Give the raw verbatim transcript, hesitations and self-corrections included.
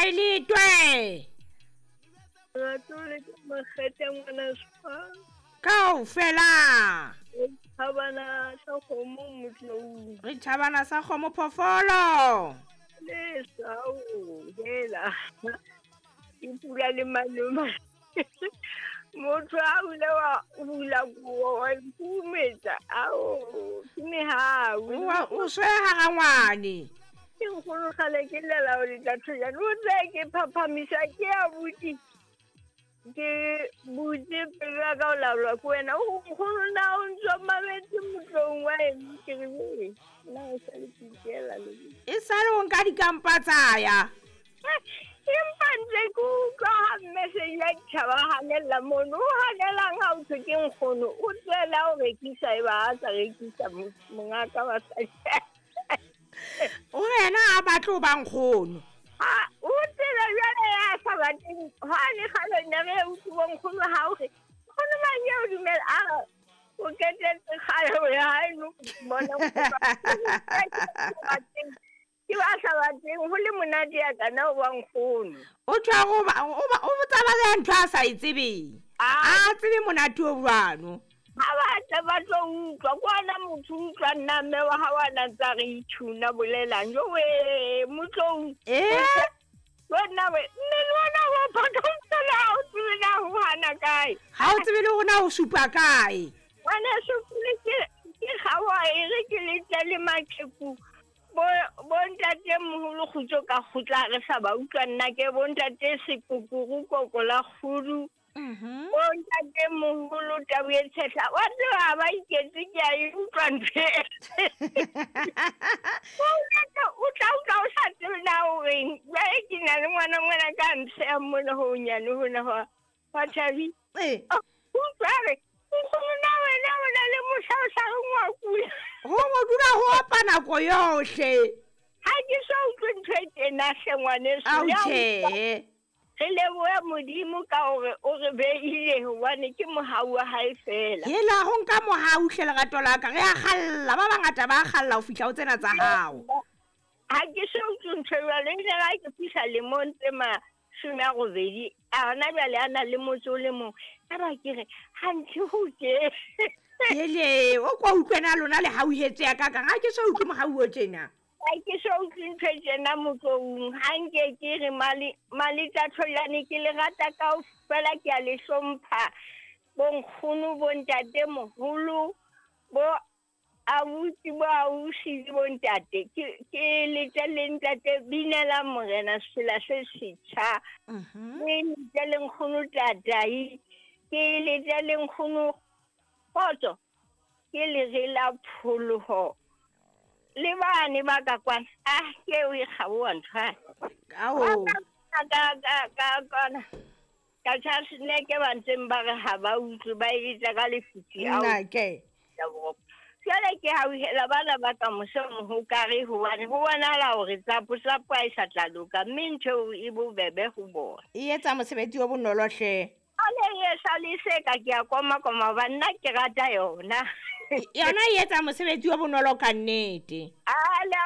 Gaelitwe. Rato le ke makgethe ngwana spa. Kaofela. Thabana sa kgomo motlou. Re thabana sa kgomo phoofolo. Le sao hela. Ke pula le maloma. Motho a o ile wa hula kobo wa ikhurumetsa. Ao, ke mehau. O swe hara ngwane. Ke nkgono kgale ke llela ho letla thojana. O tse ke phaphamisa ke abuti. Ke butse pelo ya ka ho laolwa ke wena. O nkgono na o ntso mametse motlong wa eng? Ke re, "Ee, nna e sale ke ikela le wena." E sale o nka dikampa tsa ya. Empa ntse ke utlwa ha mme Seila Ditjhaba a hanella mono. O hanelang ha o thwe ke nkgono? O tswela ho rekisa eba ha a sa rekisa mongaka wa sa. O yena a batle ho ba nkgono. Ha o tsela jwale ya sa batleng. Hwane kgale ne re utlwe bo nkgono ha o re, nkgono mang eo dumela? A re, o qetetse kgale ho ya hae no bona nkgono. Ke ba sa batleng ho le monate ya kana ho ba nkgono. O tjwa go ba o ba o botsa ba ya ntho a sa e tsebeng. Ah. A tsebe monate o jwalo. Ha ba tla ba tlo utlwa kwana motho utlwa nna mme wa hao a na ntsa re itshuna bolelang. Jo we motlou. Eh? Wena we mme le wena wa phaka fela ha o tsebe na ho hana kae. Ha o tsebe le hore na o supa kae. Ngwana supile ke ke kgaoha e re ke le tle le maqheku. Bo bo ntate moholo kgutso ka kgutla re sa ba utlwa nna ke bo ntate sekukuru koko la kgudu. Mhm. Bo ntate moholo tau e tshehla. Wa tseba ha ba iketse ke a e utlwa ntho e. O ntate o tla utlwa o sa tsebe na o reng. Jwale ke na le ngwana ngwana ka ntsheha mona ho honyane hona hwa hwa Thabi. Eh. Utlwa re nkgono na wena o na le mohla o sa reng wa kula. Ho mo dula ho opa nako yohle. Ha ke so utlwe ntho e tena hle ngwaneso. Ao Le ha o tjhe. Re lebohe Modimo ka hore o re behile hobane ke mohau wa hae fela. Hela ho nka mohau hle lerato la ka. Re a kgalla, ba bangata ba kgalla ho fihla ho tsena tsa hao. Ha ke so utlwe ntho e jwalo. Ebile ha ke fihla lemong tse mashome a robedi, a hona jwale a na le motse o le mong. Ka ba ke re, hanthe ho tje. Hele, o kwa utlwe na lona le hauhetse ya ka kang. Ha ke so utlwe mohau o tjena. Ha ke so utlwe ntho e tjena motloung. Ha nke ke re male male tsa tholane ke le rata kaofela, ke a le hlompha. Bo nkgono, bo ntate moholo, bo abuti, bo ausi le bo ntate. Ke ke le tle le ntate binela morena sefela se setjha. Mhm. Ke le tle le nkgono tatai. Ke le tle le nkgono kgotso. Ke le re la pholoho. Le bane ba ka kwana. Ah, ke eo e kgaoha ntho ane. Ao. Ka ka ka ka kwana. Ka Charles Neke ba ntseng ba re ha ba utlwe ba etsa ka lefifi ao. Nna ke. Jwale ke hauhela bana ba ka mose mohokare hobane ho bonahala hore tsapo tsapo ha e sa tla loka, mme ntho eo e bobebe ho bona. E etsa mosebetsi o bonolo hle. Ale e sa le se ka ke a koma koma hobane nna ke rata yona. Yona e etsa mosebetsi o bonolo ka nnete. Ale